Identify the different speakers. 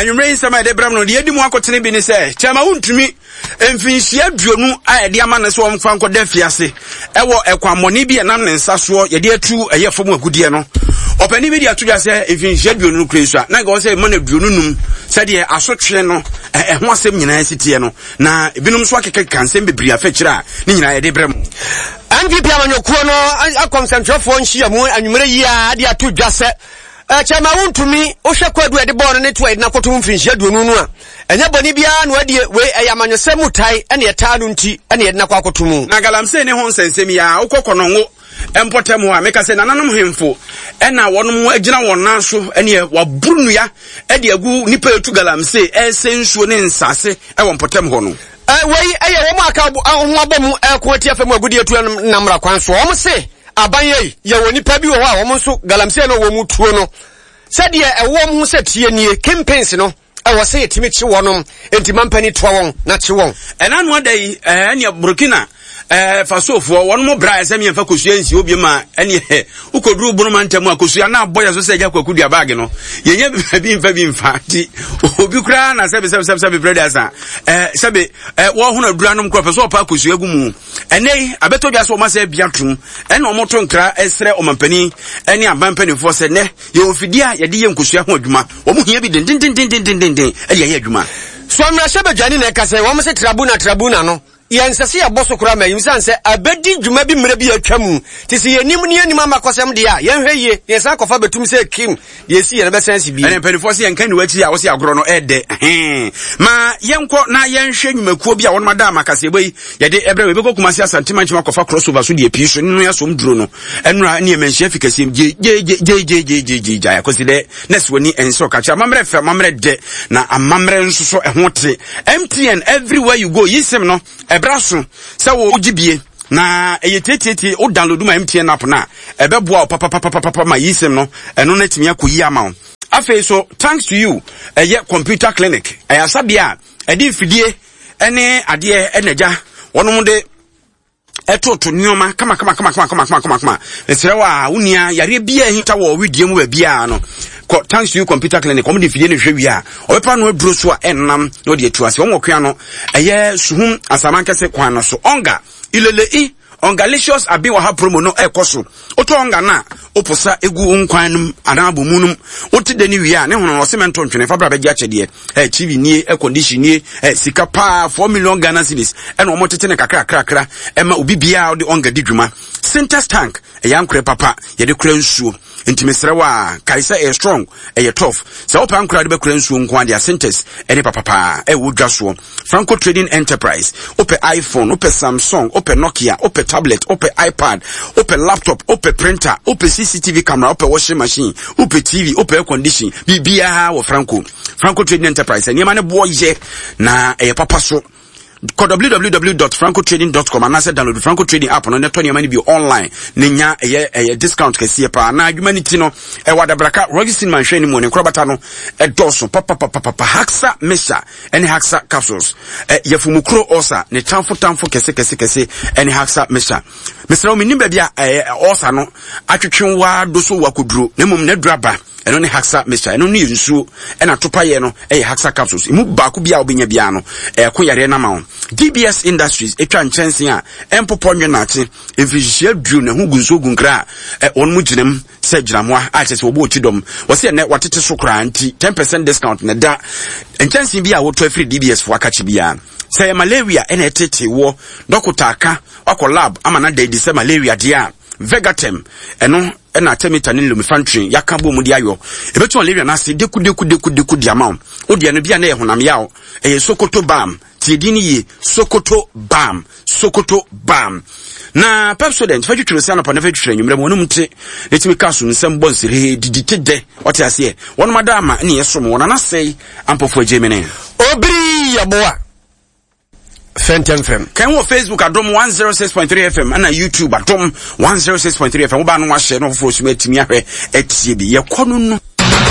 Speaker 1: Na nwummerɛ yi nsɛm a yɛde brɛ no deɛ edi mu akotene bi ne sɛ kyɛma wontumi mfinhyia aduonu a yɛde ama no sɛ wɔmfa nkɔda afiase ɛwɔ ɛkwammɔne bi a ɛnam ne nsa soɔ yɛde atu ɛyɛ fam agudeɛ no. Ɔpanin bi de ato dwa sɛ mfinhyia aduonu no kura yi so a na nka wɔ sɛ ɛma no 25 sɛdeɛ asotwe no ɛho asɛm nyinaa si teɛ no. Na ebinom nso akekakeka nsɛm bebree afa akyire a ne nyinaa yɛde brɛ mo.
Speaker 2: NPP amanyɔkuo no akɔ nsɛntwerɛfoɔ nhyiamu anwummerɛ yi ara de ato dwa sɛ kyɛ ma wontumi wohwɛ kwadu a yɛde bɔɔ no ne to a yɛde no akɔto ho mfirinhyia 20 no a, ɛnyɛ bɔne biara na wadie, wei ɛyɛ amanyɔsɛm mu tae ɛne ɛtaa no nti ɛne yɛde no akɔ akɔto mu.
Speaker 1: Na galamsey ne ho nsɛnsɛm yi ara, wokɔ Kɔnɔngo mpɔtam hɔ a, meka sɛ nananom hemfo ɛna wɔnom agyina wɔn nan so ɛneɛ wɔaboro nnua ɛde agu nnipa ɛtu galamsey ɛresɛ nsuo ne nsase ɛwɔ mpɔtam hɔ no.
Speaker 2: Wei ɛyɛ wɔn a aka ho abɔ mu ɛko atia fam agudeɛ tuo nam mmara kwan soɔ. Wɔn se aban ei, yɛwɔ nnipa bi wɔ hɔ a wɔn nso galamsey no wɔn tuo no sɛdeɛ ɛwɔ wɔn ho sɛ tie nie, kingpins no. Ɛwɔ sɛ yɛtumi kye wɔnom, enti mampani toa wɔn na kye wɔn.
Speaker 1: Ɛna ano ada yi, ɛneɛ Burkina Fasofoɔ wɔn mo bra ɛsɛ miɛnfa kosua nsi obi ma ɛneɛ wokɔduru bono mantam a kosua na abɔ yɛ so sɛ agya kwaku dua baage no yɛnyɛ bi mfa bi mfa nti obi koraa na sɛbe sɛbe sɛbe sɛbe brɛ de asa sɛbe wɔhono adura nom korɔ pɛ sɛ ɔpa kosua gu mu. Ɛnɛ yi abɛtɔ dwa sɛ wɔn asɛ bia tom ɛna wɔn to nkra ɛsrɛ ɔmampanin ɛne aban mpanimfoɔ sɛ nɛ yɛwɔ mfidie a yɛde yɛ nkosua ho adwuma. Wɔn hia bi dendendendendenden de ayɛ adwuma.
Speaker 2: So mmarahyɛbadwani na ɛka sɛ wɔn se trabuna trabuna no, yɛnsɛ sɛ yɛbɔ so koraa ma ayi esiane sɛ abedi dwuma bi mmerɛ bi a atwa mu nti sɛ yɛnim ne yɛnnim amakɔsɛm deɛ a, yɛnhwɛ yie na yɛsan akɔfa bɛtum sɛ Kim deɛ ɛsi yɛ no bɛsan asi bio.
Speaker 1: Ɛnna mpanimfoɔ se yɛnka nni w'akyi a wose agorɔ no ɛɛdɛ hee. Ma yɛnkɔ na yɛnhwɛ nnwumakuo bi a wɔnom ada ama kaseɛbɔ yi yɛde ɛbrɛ wo. Yɛbɛkɔ Kumasi Asante Mankyem akɔfa crossover so deɛ pii so ne no yɛasom duro no. Ɛnora ne yɛmanhyia fi kɛseɛ mu gyegyeegyegyeegyegye gyae akɔsi dɛ. Nurse w'ani nsɔ ka kyerɛ amammerɛ fɛ amammerɛ dɛ na amammerɛ nso so ɛho te. MTN everywhere you go yi sim no ɛbra so sɛ wo gye bie na ɛyɛ tietietie wo download ma MTN app no a ɛbɛboa wo papapapapapa ma yi sim no ɛno no atumi akɔ yi ama wo. Afei so thanks to you ɛyɛ computer clinic ɛyɛ asabea a ɛde mfidie ɛne adeɛ ɛna agya wɔnom de ɛtoto nneɛma kama kama kama kama kama kama kama kama mesrɛ wo a wo nua yareɛ biara ahinta wɔ wedeɛ mu baabiara no kɔ thanks to you computer clinic wɔn de mfidie no hwɛ wie a ɔbɛpa no aduro so a ɛnam na ɔde atu ase wɔn wɔ kwan no ɛyɛ suhum asamankɛse kwan no so ɔnga ilele i ɔngalicious abi wɔ ha promo no ɛkɔ so Wotɔ ɔnga no a, woposa gu wo nkwan no mu anaa abomu no mu. Wote dɛ no wie a, ne hono no, ɔse mɛnto ntwene, fa bra bɛgye akyɛdeɛ. Eh, TV nie, air condition nie, eh, sika paa, 4 million Ghana cedis, ɛna wɔn tete no kakrakrakra ɛma obi biara ɔde ɔnga di dwuma. Sintex tank, ɛyɛ ankorɛ papa, yɛde kora nsuo. Nti mesrɛ wo a, kae sɛ ɛyɛ strong, ɛyɛ tough. Sɛ wopɛ ankorɛ a wode bɛkora nsuo nko ara deɛ a, Sintex ɛne papa paa, ɛwɔ dwa soɔ. Franco Trading Enterprise, wopɛ iPhone, wopɛ Samsung, wopɛ Nokia, wopɛ tablet, wopɛ iPad, wopɛ laptop, wopɛ printer, wopɛ CCTV camera, wopɛ washing machine, wopɛ TV, wopɛ air condition, biribiara wɔ Franco. Franco Trading Enterprise, nneɛma no boɔ yɛ na ɛyɛ papa so. Kɔ www.francotrading.com anaasɛ download Franco Trading app no na tɔ nneɛma no bi online na nya ɛyɛ ɛyɛ discount kɛseɛ paa. Na adwuma no ti no ɛwɔ Adabraka Rocky Cinema nhwɛ anim wɔ ne nkorabata no ɛdɔɔso papapapapa. Haxa Mixture ɛne Haxa capsules. Ɛ yafumukuro ulcer ne tamfo tamfo kɛse kɛse kɛse ɛne Haxa mixture. Mesrɛ wo menim baabi a ɛɛ ulcer no atwetwe waa do so wakoduro na mmom n'aduro aba ɛno ne Haxa mixture ɛno ne yɛ nsuo ɛna topayɛ no ɛyɛ Haxa capsules emu baako bi a wobɛnya biara no ɛko yareɛ no ama wo. DBS Industries atwa nkyɛnse a ɛmpopɔ nwe naakye mfirihyia duro na ɛho gu nsuo gu nkra a wɔn mu gyinam sɛ gyinamoa a kyerɛ sɛ wɔbɔ ɔkyi dɔm. Wɔsi ɛnɛ wɔatete so koraa nti 10% discount na ɛda nkyɛnsee bi a wotɔ afiri DBS fo akakye biara. Sɛ ɛyɛ malaria ɛna ɛtete woɔ, dɔkota aka wakɔ lab ama no ada adi sɛ malaria deɛ a, Vegatem ɛno ɛna artemether ne lumefantrine yɛaka bɔ mu de ayɔ. Ɛbɛtu malaria no ase deku deku deku deku de ama wo. Wo deɛ no bi a na ɛyɛ honam yaw, ɛyɛ Sokoto balm. Tie din no yie, Sokoto Balm, Sokoto Balm. Na Pepsodent, fa twitwiri se anɔpa na fa twitwiri anwummerɛ ma wɔnom te na tumi ka so nsɛm bɔ nseree, didi te dɛ, ɔte aseɛ. Wɔnom ada ama ne yɛsom wɔn anasɛe ampɔfo agye mene.
Speaker 2: Obiri yɛboa fɛntɛmfrɛm.
Speaker 1: Kan wɔ Facebook Adom 106.3 FM ɛna YouTube Adom 106.3 FM. Wobaa no wahyɛ na ɔfoforɔ so atumi ahwɛ atie bi. Yɛkɔ no no.